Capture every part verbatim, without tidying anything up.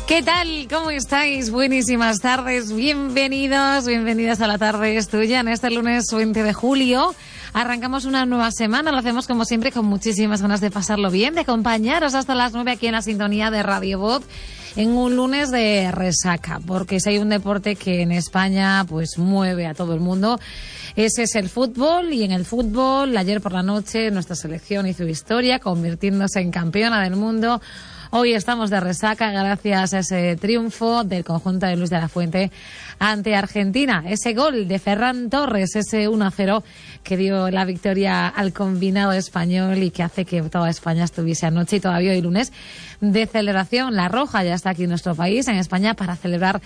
¿Qué tal? ¿Cómo estáis? Buenísimas tardes. Bienvenidos, bienvenidas a La Tarde es Tuya. En este lunes veinte de julio arrancamos una nueva semana. Lo hacemos como siempre con muchísimas ganas de pasarlo bien, de acompañaros hasta las nueve aquí en la sintonía de Radio Voz en un lunes de resaca. Porque si hay un deporte que en España pues mueve a todo el mundo, ese es el fútbol. Y en el fútbol, ayer por la noche, nuestra selección hizo historia convirtiéndose en campeona del mundo. Hoy estamos de resaca gracias a ese triunfo del conjunto de Luis de la Fuente ante Argentina. Ese gol de Ferran Torres, ese uno a cero que dio la victoria al combinado español y que hace que toda España estuviese anoche y todavía hoy lunes de celebración. La Roja ya está aquí en nuestro país, en España, para celebrar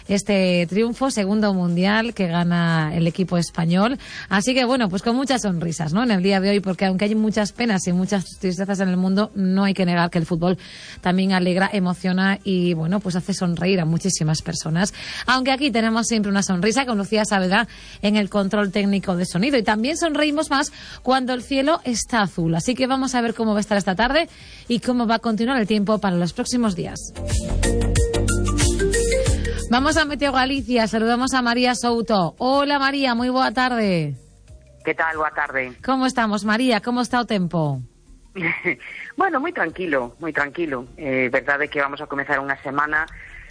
este triunfo, segundo mundial que gana el equipo español. Así que bueno, pues con muchas sonrisas, ¿no?, en el día de hoy, porque aunque hay muchas penas y muchas tristezas en el mundo, no hay que negar que el fútbol también alegra, emociona y bueno, pues hace sonreír a muchísimas personas. Aunque aquí tenemos siempre una sonrisa con Lucía Saavedra en el control técnico de sonido, y también sonreímos más cuando el cielo está azul. Así que vamos a ver cómo va a estar esta tarde y cómo va a continuar el tiempo para los próximos días. Vamos a Meteo Galicia, saludamos a María Souto. Hola María, moi boa tarde. Que tal, boa tarde? Como estamos, María? Como está o tempo? Bueno, moi tranquilo, moi tranquilo. É eh, verdade que vamos a comezar unha semana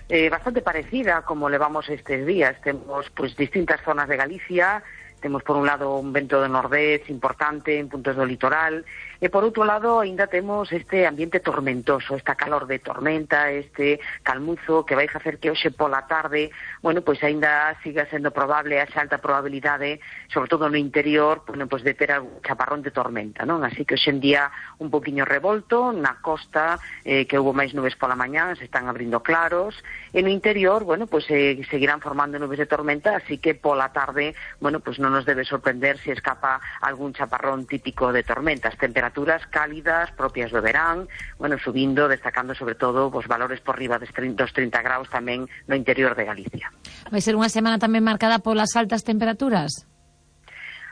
eh, bastante parecida como levamos estes días. Temos pues distintas zonas de Galicia. Temos, por un lado, un vento de nordés importante en puntos do litoral, e, por outro lado, ainda temos este ambiente tormentoso, esta calor de tormenta, este calmuzo que vai facer que hoxe pola tarde, bueno, pois ainda siga sendo probable a alta probabilidade, sobre todo no interior, bueno, pois de ter algún chaparrón de tormenta, non? Así que hoxe en día un poquinho revolto, na costa, eh, que houve máis nubes pola mañá, se están abrindo claros, e no interior, bueno, pois eh, seguirán formando nubes de tormenta, así que pola tarde, bueno, pois non nos debe sorprender se escapa algún chaparrón típico de tormentas. Temperaturas cálidas, propias do verán, bueno, subindo, destacando sobre todo os valores por riba dos trinta graus tamén no interior de Galicia. Vai ser unha semana tamén marcada polas altas temperaturas?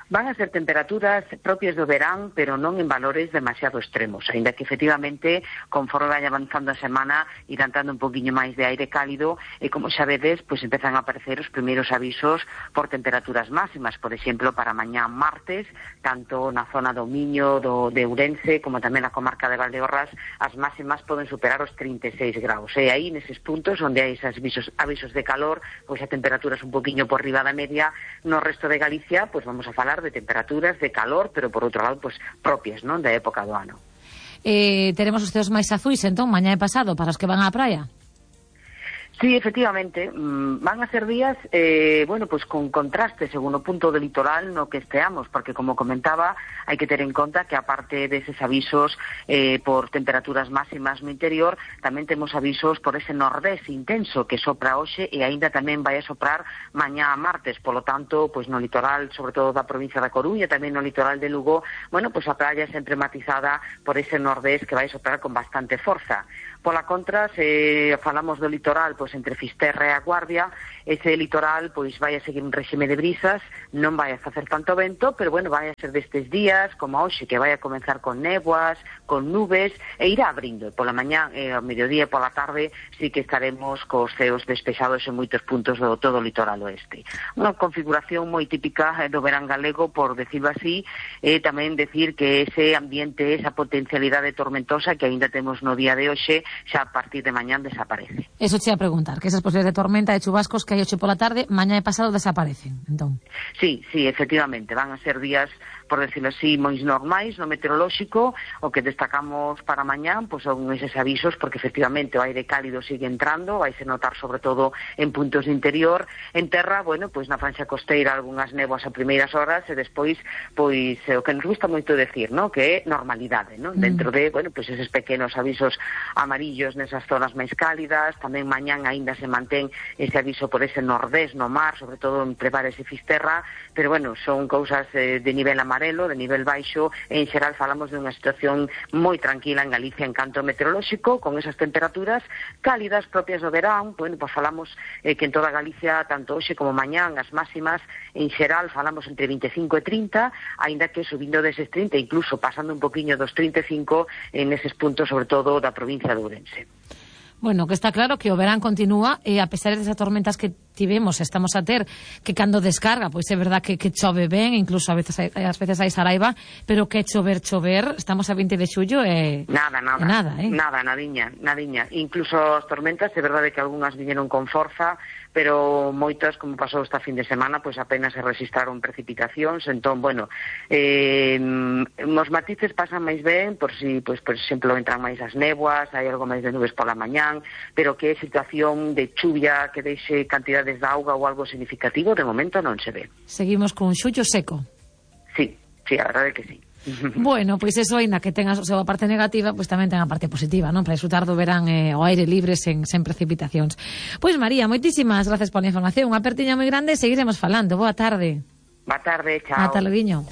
Van a ser temperaturas propias do verán, pero non en valores demasiado extremos, aínda que efectivamente, conforme vai avanzando a semana, irán dando un poquinho máis de aire cálido, e como xa vedes, pois empezan a aparecer os primeiros avisos por temperaturas máximas, por exemplo, para mañá martes, tanto na zona do Miño, do, de Ourense, como tamén na comarca de Valdeorras, as máximas poden superar os trinta e seis graus, e aí, neses puntos, onde hai esos avisos, avisos de calor, pois a temperaturas un poquinho por riba da media. No resto de Galicia, pois vamos a falar de temperaturas de calor, pero por outro lado, pues, propias, non, da época do ano. Eh, teremos os ceos máis azuis, entón, mañá e pasado, para os que van á praia? Sí, efectivamente, van a ser días, eh, bueno, pues con contraste según o punto do litoral no que esteamos, porque, como comentaba, hai que ter en conta que, aparte deses avisos eh, por temperaturas máximas no interior, tamén temos avisos por ese nordés intenso que sopra hoxe e aínda tamén vai a soprar mañá a martes. Polo tanto, pues no litoral, sobre todo da provincia da Coruña, tamén no litoral de Lugo, bueno, pues a praia sempre matizada por ese nordés que vai a soprar con bastante forza. Pola contra, se falamos do litoral, pois entre Fisterra e a Guardia, ese litoral pois vai a seguir un réxime de brisas, non vai a facer tanto vento, pero bueno, vai a ser destes días, como hoxe, que vai a comenzar con néboas, con nubes, e irá abrindo. Pola mañá, e ao mediodía e pola tarde, sí que estaremos cos ceos despexados en moitos puntos do todo o litoral oeste. Unha configuración moi típica do verán galego, por decirlo así, e tamén decir que ese ambiente, esa potencialidade tormentosa que aínda temos no día de hoxe, xa a partir de mañán desaparece. Eso te iba a preguntar, que esas posibilidades de tormenta, de chubascos que hai hoxe pola tarde, mañá e pasado desaparecen, entón. Sí, sí, efectivamente, van a ser días, por decirlo así, moi normais no meteorolóxico. O que destacamos para mañán pois son eses avisos, porque efectivamente o aire cálido sigue entrando, vai se notar sobre todo en puntos de interior. En terra, bueno, pois na franxa costeira algunhas néboas a primeiras horas, e despois, pois o que nos gusta moito decir, ¿no?, que é normalidade, ¿no?, mm. dentro de, bueno, pois eses pequenos avisos amarillos nesas zonas máis cálidas. Tamén mañán aínda se mantén ese aviso por ese nordés no mar, sobre todo en Prevares e Fisterra, pero bueno, son cousas eh, de nivel amarelo, de nivel baixo. En xeral falamos de unha situación moi tranquila en Galicia en canto meteorolóxico, con esas temperaturas cálidas propias do verán. Bueno, pues falamos eh, que en toda Galicia, tanto hoxe como mañán, as máximas en xeral falamos entre vinte e cinco e trinta, aínda que subindo deses trinta, incluso pasando un poquinho dos trinta e cinco en eses puntos, sobre todo da provincia de Ourense. Bueno, que está claro que o verán continúa e a pesar desas tormentas que tivemos, estamos a ter, que cando descarga, pois é verdad que, que chove ben, incluso a veces ás veces hai saraiva, pero que chover, chover, estamos a vinte de xullo e... Nada, nada, e nada, eh? nada, nadiña, nadiña. Incluso as tormentas, é verdade que algunhas viñeron con forza, pero moitas, como pasou esta fin de semana, pois apenas se registraron precipitacións, entón, bueno, eh, os matices pasan máis ben, por si, pois, por exemplo, entran máis as néboas, hai algo máis de nubes pola mañán, pero que é situación de chuvia que deixe cantidades de auga ou algo significativo, de momento non se ve. Seguimos con xullo seco. Sí, sí, a verdade que sí. Bueno, pois eso, ainda que tenga a súa parte negativa, pois tamén ten a parte positiva, non? Para disfrutar do verán eh, ao aire libre sen, sen precipitacións. Pois María, moitísimas gracias pola información, unha apertiña moi grande e seguiremos falando. Boa tarde. Boa tarde, chao. Ata loguiño.